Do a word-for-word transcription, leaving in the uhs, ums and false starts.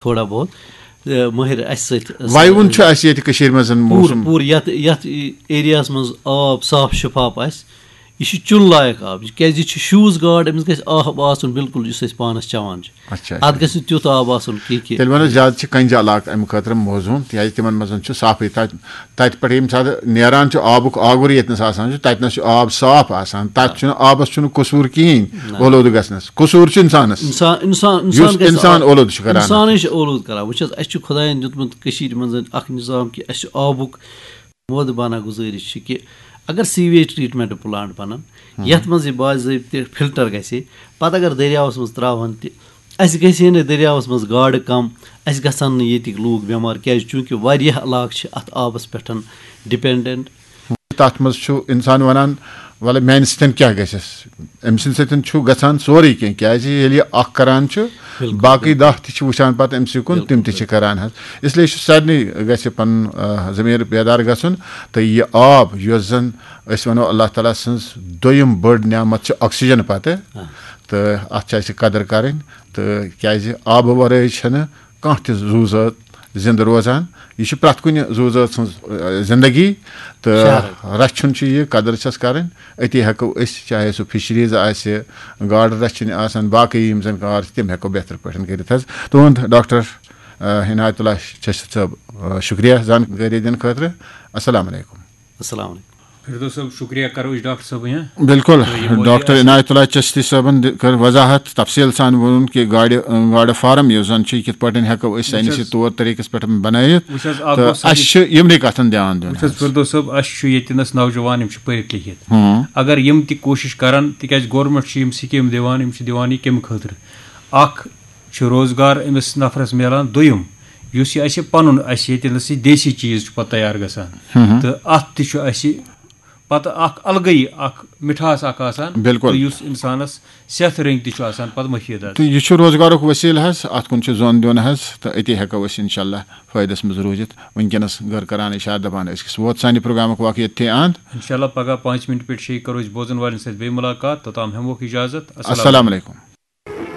تھوڑا بہت، مٲہِر اَسہِ سۭتۍ۔ وَیوُن چھُ اَسہِ ییٚتہِ کٔشیٖرِ منٛز پوٗرٕ موسم۔ پوٗرٕ یَتھ یَتھ ایریاہَس منٛز آب صاف شِفاف آسہِ، یہِ چھُ چُن لایق آب، کیٛازِ یہِ چھُ شوٗژ گاڈ، أمِس گژھِ آب آسُن بِلکُل یُس أسۍ پانَس چٮ۪وان چھِ۔ اچھا، اَتھ گژھِ نہٕ تیُتھ آب آسُن کینٛہہ کہِ تیٚلہِ وَنو زیادٕ چھِ کَنجہِ علاقہٕ اَمہِ خٲطرٕ موزوٗن، تِکیٛازِ تِمَن منٛز چھُ صافٕے تَتہِ۔ تَتہِ پٮ۪ٹھ ییٚمہِ ساتہٕ نیران چھُ آبُک آگُر ییٚتہِ نَس آسان چھُ، تَتہِ نَس چھُ آب صاف آسان، تَتہِ چھُنہٕ آبَس چھُنہٕ قصوٗر کِہیٖنۍ اولوٗدٕ گژھنَس۔ قصوٗر چھُ اِنسانَس، اِنسان اِنسان یُس اِنسان گژھِ اِنسان آب- اولوٗدٕ چھُ کَران۔ اِنسانٕے چھِ اولوٗدٕ کَران۔ وٕچھ حظ، اَسہِ چھُ خۄدایَن دیُتمُت کٔشیٖرِ منٛز اَکھ نِظام کہِ اَسہِ چھُ آبُک مودٕ بانہ گُزٲرِش چھِ کہِ اگر سیویج ٹریٹمنٹ پلانٹ بنن، یتھ منٛز یہِ باضٲبطہٕ فلٹر گژھِ، پتہٕ اگر دٔریاوس منٛز تراوہن تہِ، اسہِ گژھِ ہے نہٕ دٔریاوس منٛز گاڈٕ کم، اسہِ گژھن نہٕ ییٚتِکۍ لوٗکھ بٮ۪مار، کیازِ چوٗنکہِ واریاہ علاقہٕ چھِ اتھ آبس پٮ۪ٹھ ڈپینڈنٹ۔ تَتھ منٛز چھُ اِنسان وَنان، وَلہٕ میٛانہِ سۭتۍ کیٛاہ گژھٮ۪س؟ أمۍ سٕنٛدِ سۭتۍ چھُ گژھان سورُے کینٛہہ، کیٛازِ ییٚلہِ یہِ اَکھ کَران چھُ، بِلکُل، باقٕے بِلکُل۔ دَہ تہِ چھِ وٕچھان پَتہٕ أمۍ سٕے کُن، تِم تہِ چھِ کَران حظ۔ اِسلیے چھُ سارنٕے گژھِ پَنُن آ، ضمیٖر بیدار گژھُن، تہٕ یہِ آب یۄس زَن أسۍ وَنو اللہ تعالیٰ سٕنٛز دوٚیِم بٔڑ نعمت چھِ oxygen پَتہٕ، تہٕ اَتھ چھِ اَسہِ قدٕر کَرٕنۍ، تہٕ کیٛازِ آبہٕ وَرٲے چھَنہٕ کانٛہہ تہِ زُو زٲژ زِندٕ روزان۔ یہِ چھِ پرٛٮ۪تھ کُنہِ زُو زٲژ ہٕنٛز، آ، زِندگی، تہٕ رَچھُن چھُ یہِ، قدٕر چھَس کَرٕنۍ۔ أتی ہٮ۪کو أسۍ، چاہے سُہ فِشریٖز آسہِ، گاڈٕ رَچھِنۍ آسَن، باقٕے یِم زَن کار چھِ، تِم ہٮ۪کو بہتر پٲٹھۍ کٔرِتھ حظ۔ تُہُنٛد ڈاکٹر، آ، عنایت اللہ چشتی صٲب، آ، شُکریہ زانکٲری دِنہٕ خٲطرٕ۔ السلام علیکم۔ السلام علیکم۔ فردوس صٲب، شُکریہ کرو أسۍ ڈاکٹر صٲبٕنۍ، ہاں۔ بِلکُل۔ تہٕ یہِ موضوع ڈاکٹر آسہِ عنایت اللہ چشتی صٲبن دِ-، کٔر وضاحت، تفصیل سان ووٚنُن کہِ گاڈِ، گاڈٕ فارم یُس زن چھُ، یہِ کِتھ پٲٹھۍ ہٮ۪کو أسۍ ساینسی طور طریٖقس پٮ۪ٹھ بنٲیِتھ۔ وٕچھ حظ، اکھ تہٕ گوٚو ساینس- اَسہِ چھِ یِمنٕے کتھن دیان دیُن وٕچھ حظ، فردوس صٲب، اَسہِ چھُ ییٚتہِ نَس نوجوان، یِم چھِ پٔرِتھ لیکھِتھ۔ اگر یِم تہِ کوٗشِش کرن، تِکیازِ گورمنٹ چھِ یِم سکیٖم دِوان، یِم چھِ دِوان یہِ کَمہِ خٲطرٕ؟ اکھ چھُ روزگار أمِس نفرس میلان۔ دوٚیِم، یُس یہِ اَسہِ پَنُن، اَسہِ ییٚتہِ نَس یہِ دیسی چیٖز چھُ پَتہٕ تیار گژھان، تہٕ اَتھ تہِ چھُ اَسہِ پَتہٕ اَکھ الگٕے اَکھ مِٹھاس اَکھ آسان، بِلکُل۔ تہٕ یُس اِنسانَس صحتہٕ رٔنٛگۍ تہِ چھُ آسان پَتہٕ مُفیٖد حظ۔ تہٕ یہِ چھُ روزگارُک وسیلہٕ حظ، اَتھ کُن چھُ زوٚن دیُن حظ، تہٕ أتی ہٮ۪کو أسۍ انشاءاللہ فٲیدس منٛز روٗزِتھ۔ وٕنکیٚنس گٔر کران اشارٕ، دپان أسۍ کِس ووت سانہِ پروگرامُک وقت ییٚتھی اند۔ انشاءاللہ پگاہ پانٛژِ مِنٹہِ پٮ۪ٹھ شیٚیہِ کرو أسۍ بوزن والٮ۪ن سۭتۍ بیٚیہِ مُلاقات۔ توٚتام ہٮ۪موکھ اجازت۔ السلام علیکم۔